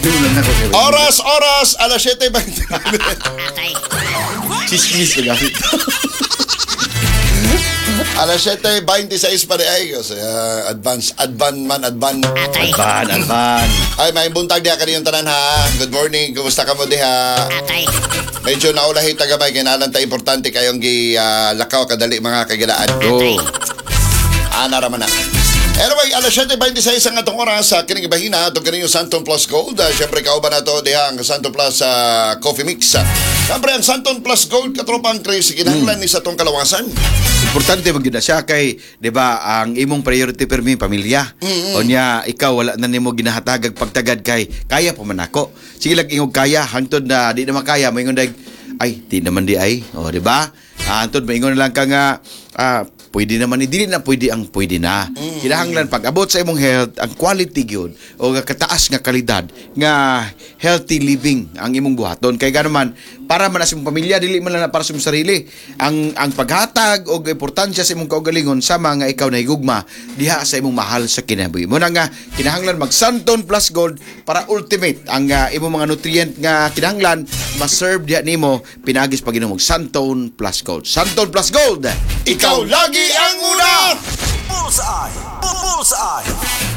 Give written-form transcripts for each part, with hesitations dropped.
Doon na ako kay Oras, oras, alas 7:29. Chismis na gamit. Alas 7:26 pa rin ay. Kasi, advance, advan man, advan. Alban, alban. Ay, may buntag diha kaniyong tanan ha. Good morning. Kumusta ka mo diha? Medyo naulahi tagamay kay nalan ta importante kayong gi lakaw kadali, mga kagilaan. Oh. Ana raman na. Anyway, alas 7:26 ang atong oras sa kining ibahina atong kaninyo Santon Plus Gold. Siyempre, kauban na to diha ang Santon Plus Coffee Mix. Siyempre, ang Santon Plus Gold, katropang Chris, kinahanglan ni sa atong kalawasan. Importante man gyud na siya kay, 'di ba, ang imong priority permi pamilya. Unya ikaw wala na nimo ginahatagag pagtagad kay kaya pa man ako. Sige lang ingog kaya hangtod na di na makaya, moingon dag, "Ay, di naman di ay." O, di ba? Hangtod moingon na lang ka nga, "Pwede naman ni," dili na pwede ang pwede na. Kinahanglan pag abot sa imong health, ang quality gyud o nga kataas nga kalidad nga healthy living ang imong buhaton. Kay gano man, para man na sa imong pamilya, dili man lang na para sa imong sarili. Ang paghatag og importansya sa imong kaugalingon sama nga ikaw nahigugma diha sa imong mahal sa kinabuhi. Mo na nga kinahanglan mag Santon Plus Gold para ultimate ang imong mga nutrient nga kinahanglan ma-serve diha nimo pinaagis pag inom og Santon Plus Gold. Santon Plus Gold. Ikaw lagi ang una! Bullseye! Bullseye!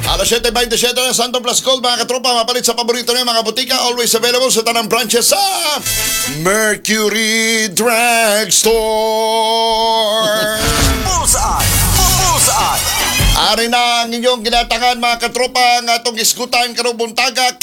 Alas 7:27 ng Santon Plus Gold, mga katropa, mapalit sa paborito niyo mga butika, always available sa tanang branches sa Mercury Drugstore. Bullseye! Bullseye! Ari na ang inyong ginatangan, mga katropa, ang atong isgutan karong buntaga.